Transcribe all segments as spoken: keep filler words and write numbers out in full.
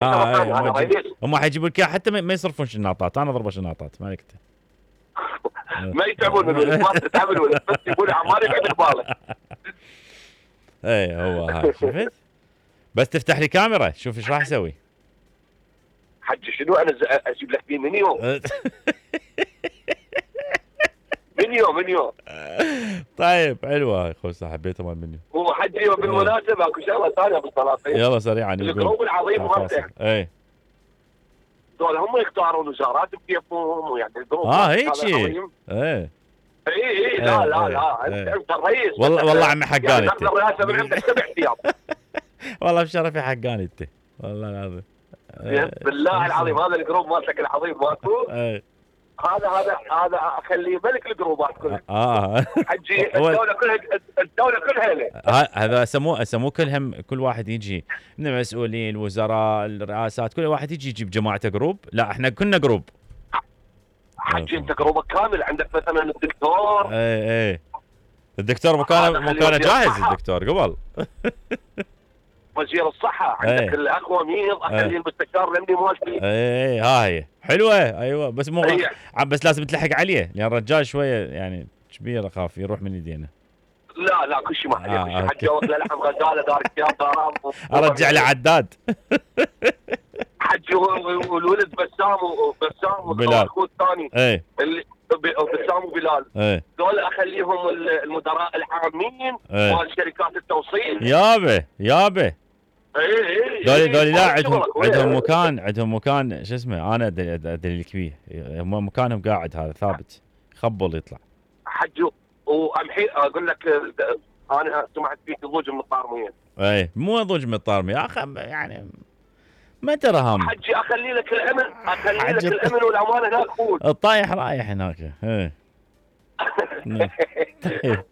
اه اي انا هم يجيب- رئيس. هم حيجيبوا لك إياه حتى ما ما يصرفون شناطات، انا اضربه شناطات ما عليك انت. ما يتعبون من الولد، ما تتعب الولد، بس يقول عمار يقعد ببالك. اي هو هاي شفت؟ بس تفتح لي كاميرا شوف ايش راح اسوي. حجي شنو انا ز- اجيب لك فيه منيو منيو منيو. طيب حلوه هاي خوسه حبيتها مال منيو. هو حجي وبالمناسبه اكو شغله ثانيه بالسلاطين. يلا سريعا يقول. الجروب العظيم مالتك اي دول هم يختارون وزارات بكيفهم، ويعني الجروب اه مالتك هيك هذا شيء. العظيم. ايه اي اي لا إيه، لا إيه، لا انت إيه. انت الرئيس. والله والله عمي يعني حقاني ناخذ انت. الرئاسه من عندك سبع ايام. والله بشرفي حقاني انت والله العظيم. إيه. بالله العظيم هذا الجروب مالتك العظيم ماكو. ايه هذا هذا هذا اخليه ملك الجروبات كلها. اه حجي هو- الدوله كلها الدوله كلها له. ه- هذا سموه سموه كلهم، كل واحد يجي من المسؤولين الوزراء الرئاسات كل واحد يجي يجيب جماعته جروب. لا احنا كنا جروب. حجي انت جروبك كامل، عندك مثلا الدكتور. ايه ايه الدكتور مكانه هذا خليه مكانه وزير جاهز الصحة. الدكتور قبل. وزير الصحه عندك إيه. الاخوه مين اخليه إيه. المستشار الامني مالتي. ايه ها هي حلوه ايوه بس مو هي. عم بس لازم تلحق عليه لان الرجال شويه يعني كبير اخاف يروح من يدينا. لا لا كل شيء ما عليه، آه، كل شيء. أوكي. حجي واكله لحم غزاله دار الثياب دارام. ارجع له عداد. حجي والولد بسام وبسام بلال. واخوه الثاني ايه اللي ب- بسام وبلال. ايه دول اخليهم المدراء العامين إيه. مال شركات التوصيل. يابه يابه اي اي ذولي ذولي لا عندهم شغلك. عندهم مكان عندهم مكان شو اسمه انا أدري- ادري بيه هم مكانهم قاعد هذا ثابت يخبل يطلع. حجي وامحي اقول لك انا سمعت فيك ضوج من الطارميه. ايه مو ضوج من الطارمي يا اخي يعني ما ترى هم حجي اخلي لك الامن، اخلي لك حجي. الامن والامان هناك فوت. الطايح رايح هناك. ايه طيب.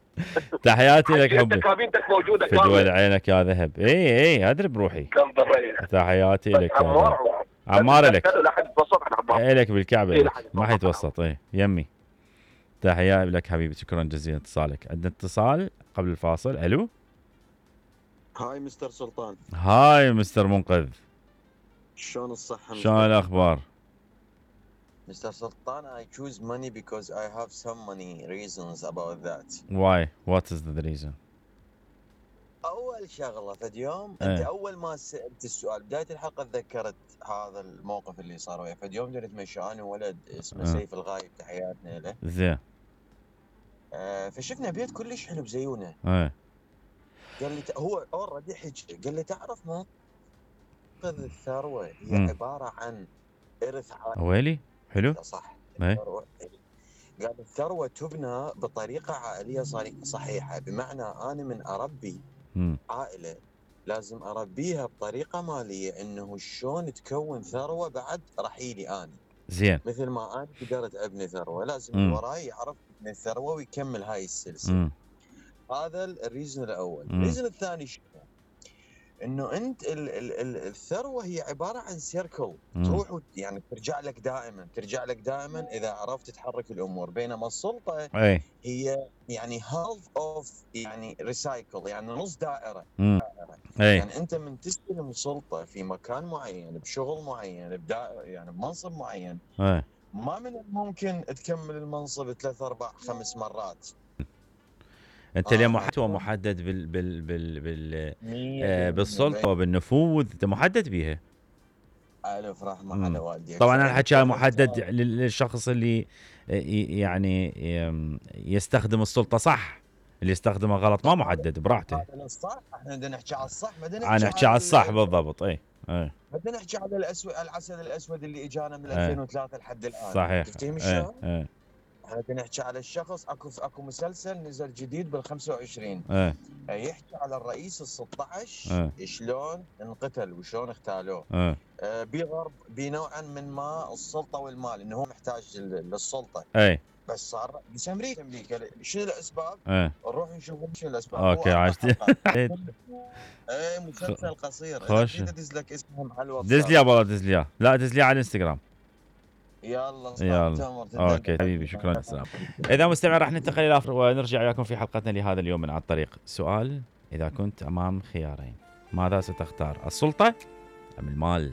تحياتي لك حجي انت حبي كابينتك موجوده في دول كامله. عينك يا ذهب. اي اي ادري بروحي. كم بالريح. تحياتي لك يا ذهب. عمار عمار لك لا حد بسط عن عمار. لك بالكعبه إيه لك. لحد ما يتوصل. حيتوسط. ايه يمي تحياتي لك حبيبي شكرا جزيلا اتصالك. عندنا اتصال قبل الفاصل. الو هاي مستر سلطان، هاي مستر منقذ شلون الصحة؟ شلون الاخبار؟ مستر سلطان, I choose money because I have some money reasons about that. why what is the reason؟ أول شغلة فد يوم إيه. أنت أول ما سألت السؤال بداية الحلقة تذكرت هذا الموقف اللي صار وياي. فد يوم جيت مشي أنا وولد اسمه إيه. سيف الغايب تحياتنا له. زين آه فشفنا بيت كلش حلو بزيونه. ايه قال لي ت- هو اوريدي حكي قال لي تعرف منقذ الثروة هي مم. عبارة عن إرث عائلي. ويلي حلو. صح. إيه. الثروة قال الثروة تبنى بطريقة عائلية صري- صحيحة، بمعنى أنا من أربي امم عائلة لازم أربيها بطريقة مالية إنه شلون تكون ثروة بعد رحيلي أنا. زين مثل ما أنا قدرت أبني ثروة لازم مم. اللي وراي يعرف يبني الثروة ويكمل هاي السلسلة. امم هذا الريزن الأول. مم. الريزن الثاني شنو؟ إنه أنت ال ال ال الثروة هي عبارة عن سيركل تروح وت- يعني ترجع لك دائما ترجع لك دائما إذا عرفت تحرك الأمور، بينما السلطة ايه هي يعني half of يعني ريسايكل، يعني نص دائرة. امم ايه يعني أنت من تستلم سلطة في مكان معين بشغل معين بدائرة يعني بمنصب معين، ايه ما من الممكن تكمل المنصب ثلاث أربع خمس مرات. انت آه، اليوم محدد أكون. محدد بال بال بال بال مية آه بالمية. بالسلطه وبالنفوذ انت محدد بيها. ألف رحمة مم. على والديك. طبعا يعني الحكي هذا كان محدد اختار- لل- للشخص اللي ي- يعني يم- يستخدم السلطه صح، اللي يستخدمها غلط ما محدد براحته. هذا الصح، احنا بدنا نحكي على الصح، بدنا انا نحكي احكي على الصح ال- بالضبط. اي اي بدنا نحكي على الاسود العسل الاسود اللي اجانا من إيه. ألفين وثلاثة لحد الان. صحيح. تفتهم اي شلون؟ اي احنا بدنا نحكي على الشخص. اكو اكو مسلسل نزل جديد بال خمسة وعشرين اي يحكي على الرئيس ال ستة عشر شلون انقتل وشلون اغتالوه. اي آه، بغرب بنوعا من ما السلطه والمال انه هو محتاج لل- للسلطه، اي بس صار بس امريكا امريكا شنو الاسباب؟ اي نروح نشوف شنو الاسباب. اوكي هو أربع عشت حلقات. إيه. ايه مسلسل قصير. خوش. اذا ادز لك اسمهم على الواتساب. دز لي يا والله دز لي إياه. لا دز لي على الانستغرام. يلا يلا اوكي حبيبي شكرا السلام. اذا مستمع راح ننتقل الى آخر ونرجع وياكم في حلقتنا لهذا اليوم من عن طريق سؤال: اذا كنت امام خيارين ماذا ستختار، السلطه ام المال؟